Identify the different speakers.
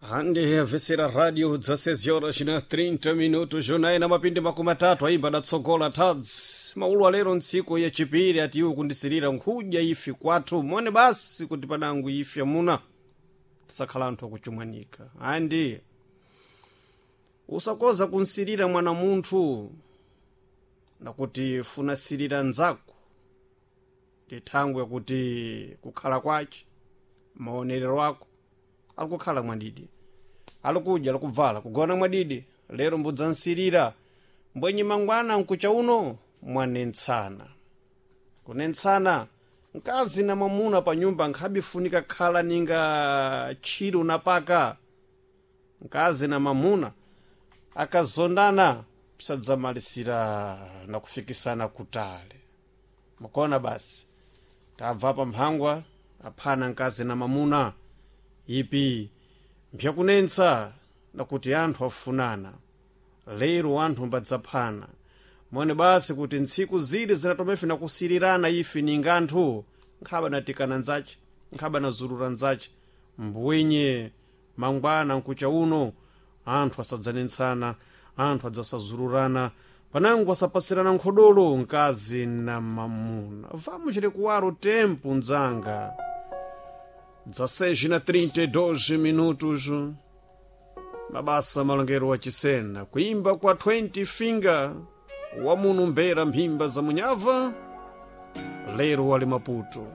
Speaker 1: Hande avesera radio 16 horas na 30 minutos, jornal na mapindi 30 aimba datsogola tadzi maulu alero ntsiku yachipiri ati iwo kundisirira nkhudya ifi kwathu mone basi kuti panangu ifi amuna tisakhala anthu akuchumwanika. Andi usakoza kunsirira mwana munthu nakuti funasirira nzako ndi thangwe yakuti kukhala kwace maonerero ako alikukhala mwadidi, alikudya, alikubvala, kugona mwadidi. Lero mbudzansirira mbwenyi mangwana nkucha uno mwanentsana kunentsana mkazi na mwamuna pa nyumba nkhabifunika khala ninga tchiro na paka. Mkazi na mwamuna akazondana pisadzamalisira na kufikisana kutale. Mukona basi tabva pa mphangwa aphana mkazi na mwamuna ipi mpyakunentsa nakuti anthu afunana lero anthu mbadzaphana. Mone basi kuti ntsiku zili zinatomefe nakusirirana ife ninga anthu nkhaba natikana nzace, nkhaba nazurura nzace mbwenye mangwana nkucha uno anthu asadzanentsana, anthu adzasazururana panango asapasirana nkhodolo mkazi na mamuna. Vamos recuar o tempo, nzanga. 16 na 32 minutos. Mabasa malongero wa chisena kuimba kwa 20 finger wamuno mbera mphimba za munyava lero wali Maputo.